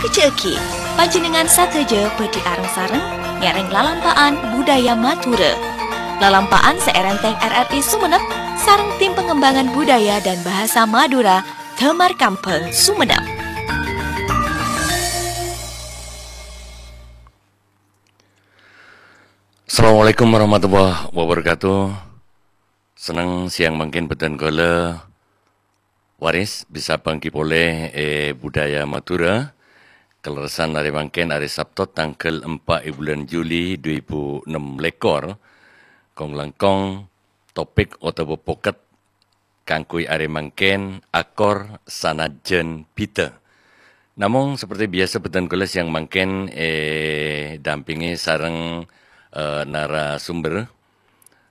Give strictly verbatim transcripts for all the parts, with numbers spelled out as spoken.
Dhâddhiyâghi, panjhennengngan sadhâjâ bhâdhi areng-sareng ngèrèng lalampa'an budaya Madhurâ. Lalampa'an sè èrèntèng R R I Sumenep sareng Tim Pengembangan Budaya dan Bahasa Madura, Damar Kambhâng, Sumenep. Assalamualaikum warahmatullahi wabarakatuh. Senneng sèyang mangkèn bhâdhân kaulâ, Waris, bisa bhânggi polè è budaya Madhurâ. Kalerressan arè mangkèn, arè Sabto, tangghâl empa' è bulân Juli dhu èbu ennem lèkor. Kong-langkong topik otabâ pokèt kaangghuy arè mangkèn, akor sanajjhân bhidhâ. Namong, saperti biyasa, bhâdhân kaulâ sèyang mangkèn èdampèngè sareng, eh, narasumber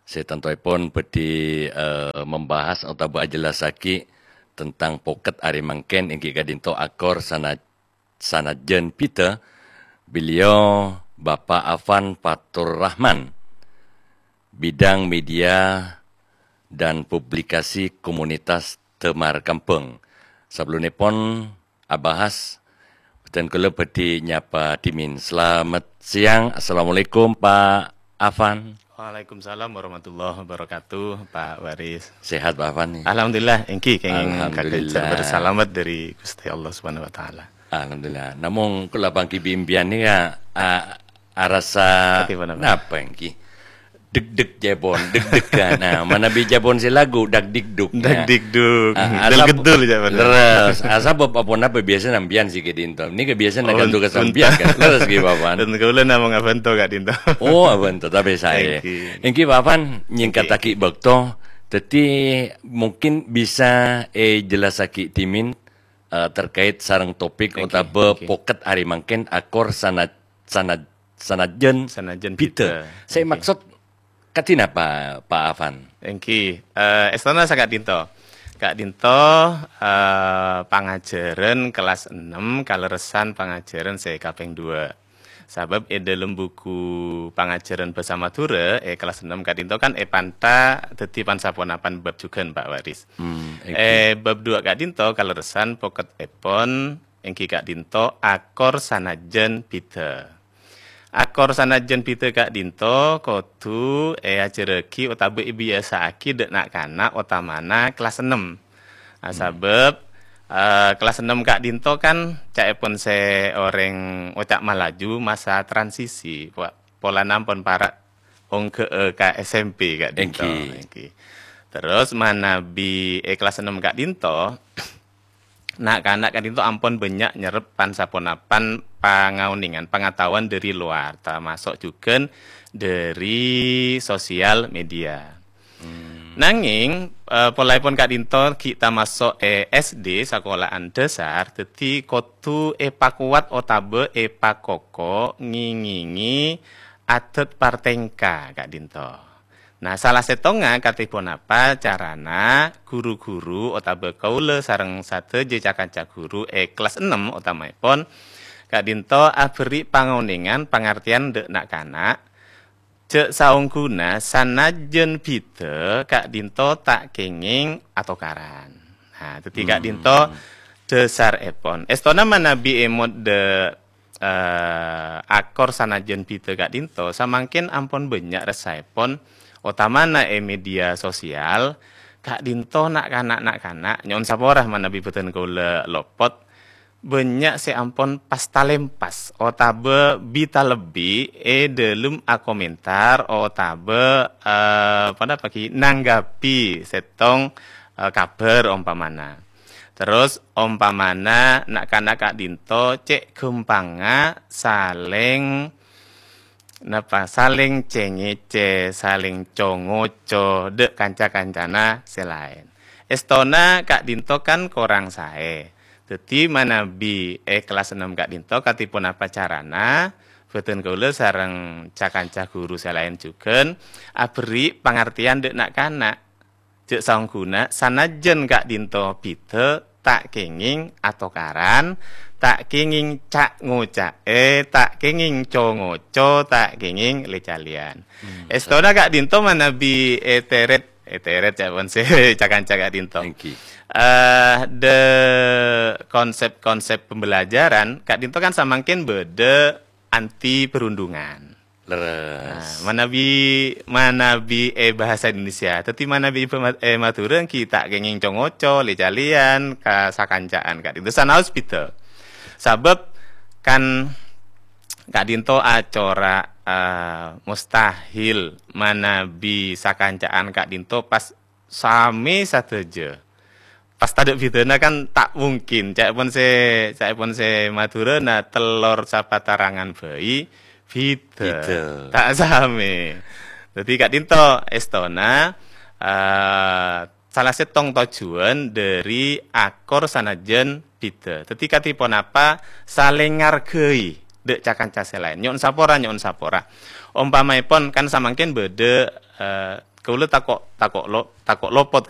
sè tantoèpon bhâdhi, eh, membahas otabâ ajellassaghi tentang pokèt arè mangkèn, èngghi ka'dinto akor sana-, sanajjhân bhidhâ, beliau Bapak Afan Fatur Rahman, bidang media dan publikasi komunitas Damar Kambhâng. Sabellunèpon abahas, bhâdhân kaulâ bhâdhi nyapa dhimèn. Selamat siang. Assalamualaikum, Pak Afan. Waalaikumsalam warahmatullahi wabarakatuh, Pak Waris. Sehat, Pak Afan, nih? Alhamdulillah, èngghi, kèngèng Alhamdulillah. Kakencer bersalamet dâri Ghustè Allah Subhanahu wa Ta'ala. Alhamdulillah. Namong, kaulâ bhânggi bi' empèyan nèka, a-, arassa Ati ponapa? Napa èngghi? Deg-deg jâ pon, deg-degan. Nah, manabi jâ pon sè lagu, dag-dig-dug, ya. Dag-dig-dug. Ah, Del asap-, gedul jâ pon. Leres. Ah, sabâb aponapa biyasa sampèyan sè ka'dinto. Nèka biyasa Oh, naghântong ka sampèyan, kan? Leres, ghi, Bapak? Dan kaulâ namong abhânto ka'dinto. Oh, abhânto, tapè saè. Èngghi. Èngghi, Bapak, nyèngkattaghi bâkto. Dhâddhi, mungkin bisa èjellassaghi dhimèn, eh, terkait sareng topik Èngghi, otabâ èngghi. Pokèt arè mangkèn akor sana-, sana-, sanajjhân Sanajjhân bhidhâ. Bhidhâ. Sè Èngghi. Maksod ka'dinto napa, Pak Afan? Èngghi, eh, èstona saka'dinto. Ka'dinto, eh, pangajhârân kellas ennem kalerressan pangajhârân sè kapèng dua. Sabâb è dâlem buku pangajhârân bhâsa Madhurâ è kellas ennem ka'dinto kan èpanta dhâddhi pan-saponapan bab jhughân, Pak Waris. Hmm, èngghi. È bab dua ka'dinto kalerressan pokètèpon èngghi ka'dinto akor sanajjhân bhidhâ. Akor sanajjhân bhidhâ ka'dinto kodhu èajhârraghi otabâ èbiyasa'aghi dâ' na'-kana' otamana kellas ennem. Ah, Hmm. sabâb, eh, kellas ennem ka'dinto kan ca'èpon sè orèng oca' Malaju masa transisi, po-, polana ampon para' ongghâ'â ka S M P ka'dinto. Èngghi. Èngghi. Terros manabi è kellas ennem ka'dinto, na'-kana' ka'dinto ampon bânnya' nyerrep pan-saponapan pangaonèngan, pangataowan dâri lowar, tamaso' jhughân dâri sosial media. Hmm. Nangèng, eh, polaèpon ka'dinto ghi' tamaso' è S D, sakola'an dhâsar, dhâddhi kodhu èpakowat otabâ èpakoko ngèngèngè adhât partèngka ka'dinto. Nah, sala sèttongnga katè ponapa carana ru-ghuru otabâ kaulâ sareng sadhâjâ ca-kanca ghuru è kellas ennem otamaèpon ka'dinto aberri' pangaonèngan pangartèyan dâ' na'-kana', jhâ' saongghuna sanajjhân bhidhâ ka'dinto ta' kèngèng atokaran. Nah, dhâddhi Hmm. ka'dinto dhâsarèpon. Èstona manabi è modhâ, eh, akor sanajjhân bhidhâ ka'dinto, samangkèn ampon bânnya' ressaèpon, otamana è media sosial, ka'dinto na'-kana'-na'-kana', nyo'on sapora manabi bhâdhân kaulâ lopot, bânnya' sè ampon pas-talempas otabâ bi-talebbi è dâlem akomentar otabâ, eh, ponapa ghi, nanggapi sèttong, eh, kabhâr ompamana. Terros ompamana na'-kana' ka'dinto cè' ghâmpangnga salèng napa, salèng cè-ngècè, salèng co-ngoco dâ' kanca-kancana sè laèn. Èstona ka'dinto kan korang saè. Dhâddhi manabi è kellas ennem ka'dinto katè ponapa carana, bhâdhân kaulâ sareng ca-kanca ghuru sè laèn jhughân aberri' pangartèyan dâ' na'-kana'. Jhâ' saongghuna, sanajjhân ka'dinto bhidhâ, ta' kèngèng atokaran, ta' kèngèng ca'-ngoca'è, ta' kèngèng co-ngoco, ta' kèngèng lè-calèyan. Hmm, Èstona ka'dinto manabi èterrèt Ètèrèt ca'èpon sè ca-kanca ka'dinto. Èngghi. Eh, de konsep-konsep pembelajaran ka'dinto kan samangkèn bâdâ anti perundungan. Leres. Nah, manabi, manabi è bahasa Indonesia. Dhâddhi manabi è ma-, è Madhurâ èngghi ta' kèngèng co-ngoco, lè-calèyan, ka sakanca'an ka'dinto. Sanaos bhidhâ. Sabâb kan ka'dinto acora, eh, mustahil manabi sakanca'an ka'dinto pas samè sadhâjâ. Pas tadâ' bhidhâna kan ta' mungkin. Ca'èpon sè, ca'èpon sè Madhurâna tellor sapatarangan bhâi bhidhâ. Bhidhâ. Ta' samè. Dhâddhi ka'dinto èstona, eh, sala sèttong tojjhuwân dhâri akor sanajjân bhidhâ. Dhâddhi kadhi ponapa salèng ngarghâi dâ' ca-kanca sè laèn. Nyo'on sapora, nyo'on sapora. Ompamaèpon kan samangkèn bâdâ, eh, kaulâ tako', tako' lo-, tako' lopot